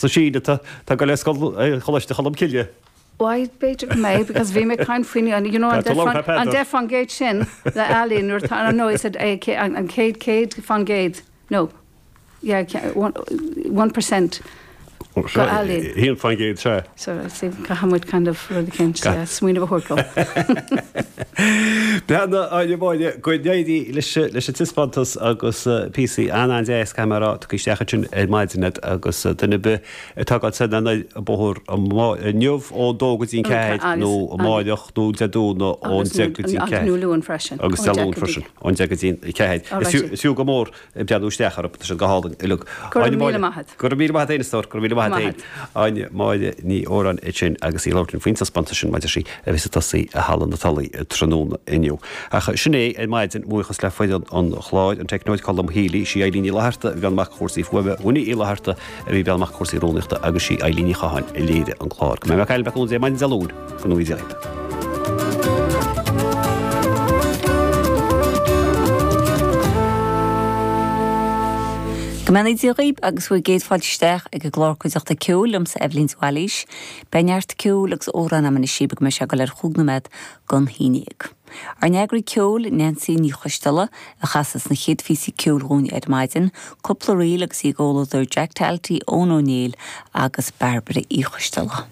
sa Sín atá ag dul ar scoil Choláiste Cholm Cille. Why, b'fhéidir go mbeidh, because bhí mé ag caint faoin, you know, an 10% sin le ealaín nuair atá, no, is it an chéad 100%, no, yeah, 1% go ealaín. 1%, sea. So, see, caithfidh muid kind of rud eicínt, smaoineamh a thabhairt dó. Beannacht Áine Máire, go n-éirí leis an taispeántas agus píosaí an-an-deas, caithfidh mé a rá, tugtha isteach ansin ar maidin agat agus duine ar bith atá ag dul soir ná anoir an bóthar inniu ón dó go dtí an ceathair nó amáireach nó Dé Domhnaigh ón deich go dtí an ceathair. Agus nó Luan freisin. Agus Dé Luain freisin ón deich go dtí an ceathair. Is fiú go mór breathnú isteach orthu, tá siad go hálainn uilig. Go raibh míle maith agat. Go raibh míle maith agat féin a stór, go raibh míle maith agat féin. Áine Máire Ní Óráin ansin agus í ag labhairt linn faoin taispeántas sin maidir sí a bheas ag tosaí i Halla na Tulaí tráthnóna inniu. Ach sin é ar maidin, buíochas le foireann an chláir, an teicneoir Colm Healy, sí Eileen Ní Fhlatharta a bhí i mbun cúrsaí fuaime, Winnie Uí Fhlatharta a bhí ag breathnú amach cúrsaí rúnaíochta agus sí Eilín Ní Chatháin a léirigh an clár. Go mbeidh mé ag caint libh maidin Dé Luain, go ngnóthaí Dia dhaoibh. Go mbeannaí Dia dhaoibh agus bhur gcéad fáilte isteach ag an gclár Cuideachta Ceoil liomsa Eibhlín de Bhailís. Beidh neart ceoil agus amhrán agam anois daoibh go mbeidh sé ag dul ar chúig nóiméad gon haon dhéag. Ár n-eagraí ceoil, Neansaí Ní Choisteala, a chasas na chéad phíosaí ceoil dhúinn ar maidin, cúpla ríl agus í i gcomhluadar Jack Talty, Eoin Ó Néill agus Bairbre Uí Choisteala.